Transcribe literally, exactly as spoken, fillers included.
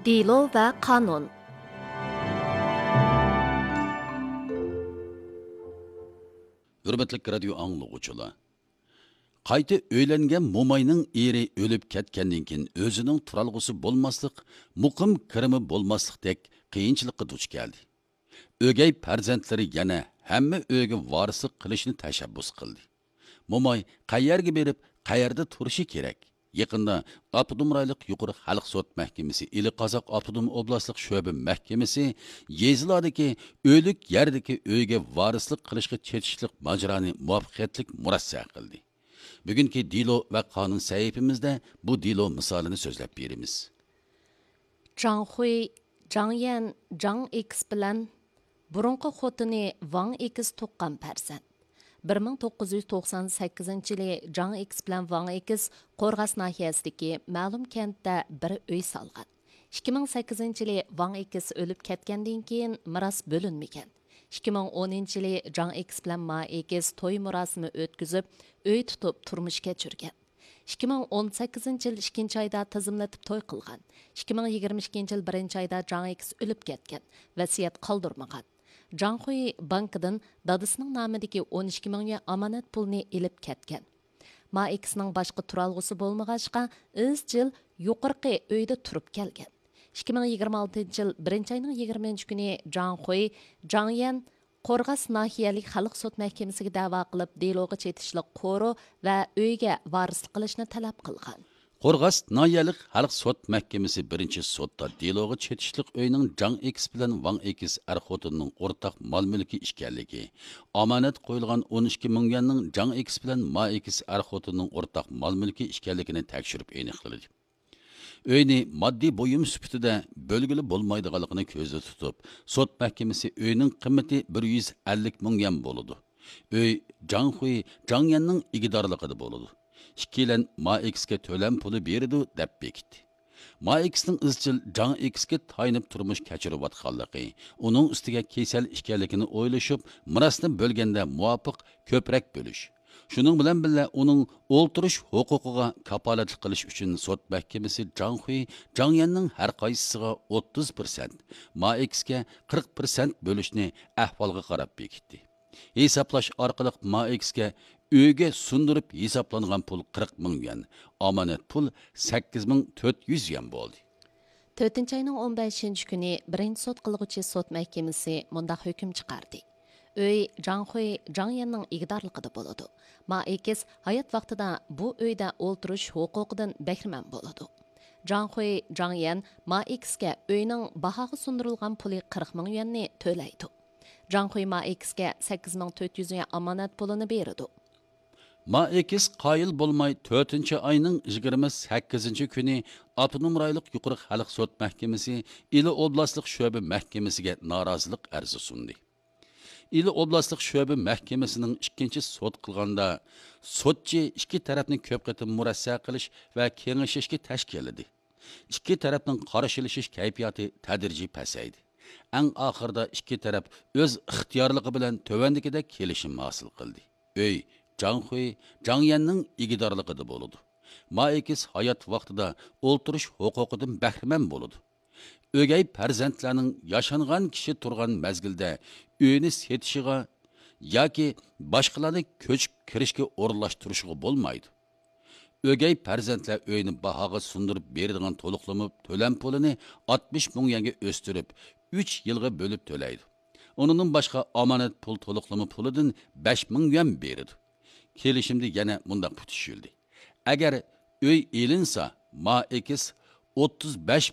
دېلو ۋە قانۇن. ھۆرمەتلىك رادىيو ئاڭلىغۇچىلار! قايتا ئۆيلەنگەن موماينىڭ ئېرى ئۆلۈپ كەتكەندىن كېيىن، ئۆزىنىڭ تۇرالغۇسى بولماسلىق، مۇقىم كىرىمى بولماسلىقتەك قىيىنچىلىققا دۇچ كەلدى. ئۆگەي پەرزەنتلىرى يەنە ھەممە ئۆيگە ۋارىسلىق قىلىشنى تەشەببۇس قىلدى. موماي قەيەرگە بېرىپ، قەيەردە تۇرۇشى كېرەك؟ يېقىندا ئاپتونوم رايونلۇق يۇقىرى خەلق سوت مەھكىمىسى ئىلى قازاق ئاپتونوم ئوبلاستلىق شۆبە مەھكىمىسى يېزىلاردىكى ئۆلۈك يەردىكى ئۆيگە ۋارىسلىق قىلىشقا چېتىشلىق ماجىرانى مۇۋەپپەقىيەتلىك مۇرەسسە قىلدى. بۈگۈنكى دېلو ۋە قانۇن سەھىپىمىزدە بۇ دېلو مىسالىنى سۆزلەپ بېرىمىز. جاڭ خۇي، جاڭ يەن، جاڭ ئېكس بىلەن بۇرۇنقى خوتۇنى ۋاڭ ئېكس تۇغقان پەرزەنت. بىر مىڭ توققۇز يۈز توقسان سەككىزىنچى يىلى جاڭ ئېكس بىلەن ۋاڭ ئېكس قورغاس ناھىيەسىدىكى مەلۇم كەنتتە بىر ئۆي سالغان. ئىككى مىڭ سەككىزىنچى يىلى ۋاڭ ئېكس ئۆلۈپ كەتكەندىن كېيىن مىراس بۆلۈنمىگەن. ئىككى مىڭ ئونىنچى يىلى جاڭ ئېكس بىلەن ما ئېكس توي مۇراسىمى ئۆتكۈزۈپ، ئۆي تۇتۇپ تۇرمۇش كەچۈرگەن. ئىككى مىڭ ئون سەككىزىنچى يىل ئىككىنچى ئايدا تىزىملىتىپ توي قىلغان. ئىككى مىڭ يىگىرمە ئىككىنچى يىل بىرىنچى ئايدا جاڭ ئېكس ئۆلۈپ كەتكەن، ۋەسىيەت قالدۇرمىغان. جاڭ خۇي بانكىدىن دادىسىنىڭ نامىدىكى ئون ئىككى مىڭ يۈەن ئامانەت پۇلنى ئېلىپ كەتكەن. ما ئېكسنىڭ باشقا تۇرالغۇسى بولمىغاچقا، ئىزچىل يۇقىرىقى ئۆيدە تۇرۇپ كەلگەن. ئىككى مىڭ يىگىرمە ئالتىنچى يىل بىرىنچى ئاينىڭ يىگىرمە كۈنى جاڭ خۇي، جاڭ يەن قورغاس ناھىيەلىك خەلق سوت مەھكىمىسىگە دەۋا قىلىپ، دېلوغا چېتىشلىق قورۇ ۋە ئۆيگە ۋارىسلىق قىلىشنى تەلەپ قىلغان. قورغاس ناھىيەلىك خەلق سوت مەھكىمىسى بىرىنچى سوتتا دېلوغا چېتىشلىق ئۆينىڭ جاڭ ئېكس بىلەن ۋاڭ ئېكس ئەر خوتۇننىڭ ئورتاق مال مۈلكى ئىكەنلىكى، ئامانەت قويۇلغان ئون ئىككى مىڭ يۈەننىڭ جاڭ ئېكس بىلەن ما ئېكس ئەر خوتۇننىڭ ئورتاق مال مۈلكى ئىكەنلىكىنى تەكشۈرۈپ ئېنىقلىدى. ئۆينى ماددىي بۇيۇم سۈپىتىدە بۆلگىلى بولمايدىغانلىقىنى كۆزدە تۇتۇپ، سوت مەھكىمىسى ئۆينىڭ قىممىتى بىر يۈز ئەللىك مىڭ يۈەن بولىدۇ. ئۆي جاڭ خۇي، جاڭ يەننىڭ ئىگىدارلىقىدا بولىدۇ. ئىككىيلەن ما ئېكسكە تۆلەم پۇلى بېرىدۇ، دەپ بېكىتتى. ما ئېكسنىڭ ئىزچىل جاڭ ئېكسكە تايىنىپ تۇرمۇش كەچۈرۈۋاتقانلىقى، ئۇنىڭ ئۈستىگە كېسەل ئىكەنلىكىنى ئويلىشىپ، مىراسنى بۆلگەندە مۇۋاپىق كۆپرەك بۆلۈش، شۇنىڭ بىلەن بىللە، ئۇنىڭ ئولتۇرۇش ھوقۇقىغا كاپالەتلىك قىلىش ئۈچۈن سوت مەھكىمىسى جاڭ خۇي، جاڭ يەننىڭ ھەر قايسىسىغا ئوتتۇز پىرسەنت، ما ئېكسكە قىرىق پىرسەنت بۆلۈشنى ئەھۋالغا قاراپ بېكىتتى. ھېسابلاش ئارقىلىق ما ئېكسكە ئۆيگە سۇندۇرۇپ ھېسابلانغان پۇل قىرىق مىڭ يۈەن، ئامانەت پۇل سەككىز مىڭ تۆت يۈز يۈەن بولدى. تۆتىنچى ئاينىڭ ئون بەشىنچى كۈنى بىرىنچى سوت قىلغۇچى سوت مەھكىمىسى مۇنداق ھۆكۈم چىقاردى: ئۆي جاڭ خۇي، جاڭ يەننىڭ ئىگىدارلىقىدا بولىدۇ. ما ئېكس ھايات ۋاقتىدا بۇ ئۆيدە ئولتۇرۇش ھوقۇقىدىن بەھرىمەن بولىدۇ. جاڭ خۇي، جاڭ يەن ما ئېكسكە ئۆينىڭ باھاغا سۇندۇرۇلغان پۇلى قىرىق مىڭ يۈەننى تۆلەيدۇ. جاڭ خۇي ما ئېكسكە سەككىز مىڭ تۆت يۈز يۈەن ئامانەت پۇلىنى بېرىدۇ. ما ئېكس قايىل بولماي، تۆتىنچى ئاينىڭ يىگىرمە سەككىزىنچى كۈنى ئاپتونوم رايونلۇق يۇقىرى خەلق سوت مەھكىمىسى ئىلى ئوبلاستلىق شۆبە مەھكىمىسىگە نارازىلىق ئەرزى سۇندى. ئىلى ئوبلاستلىق شۆبە مەھكىمىسىنىڭ ئىككىنچى سوت قىلغاندا، سوتچى ئىككى تەرەپنى كۆپ قېتىم مۇرەسسە قىلىش ۋە كېڭىشىشكە تەشكىللىدى. ئىككى تەرەپنىڭ قارشىلىشىش كەيپىياتى تەدرىجىي پەسەيدى. ئەڭ ئاخىرىدا ئىككى تەرەپ ئۆز ئىختىيارلىقى بىلەن تۆۋەندىكىدەك كېلىشىم ھاسىل قىلدى. ئۆي جاڭ خۇي، جاڭ يەننىڭ ئىگىدارلىقىدا بولىدۇ. ما ئېكس ھايات ۋاقتىدا ئولتۇرۇش ھوقۇقىدىن بەھرىمەن بولىدۇ. ئۆگەي پەرزەنتلەرنىڭ ياشانغان كىشى تۇرغان مەزگىلدە ئۆينى سېتىشىغا ياكى باشقىلارنى كۆچۈپ كىرىشكە ئورۇنلاشتۇرۇشىغا بولمايدۇ. ئۆگەي پەرزەنتلەر ئۆينى باھاغا سۇندۇرۇپ بېرىدىغان تولۇقلىما تۆلەم پۇلىنى ئاتمىش مىڭ يۈەنگە ئۆستۈرۈپ، ئۈچ يىلغا بۆلۈپ تۆلەيدۇ. ئۇنىڭدىن باشقا، ئامانەت پۇل تولۇقلىما پۇلىدىن بەش مىڭ يۈەن بېرىدۇ. كېلىشىمدە يەنە مۇنداق پۈتۈشۈلدى: ئەگەر ئۆي ئېلىنسا، ما ئېكس ئوتتۇز بەش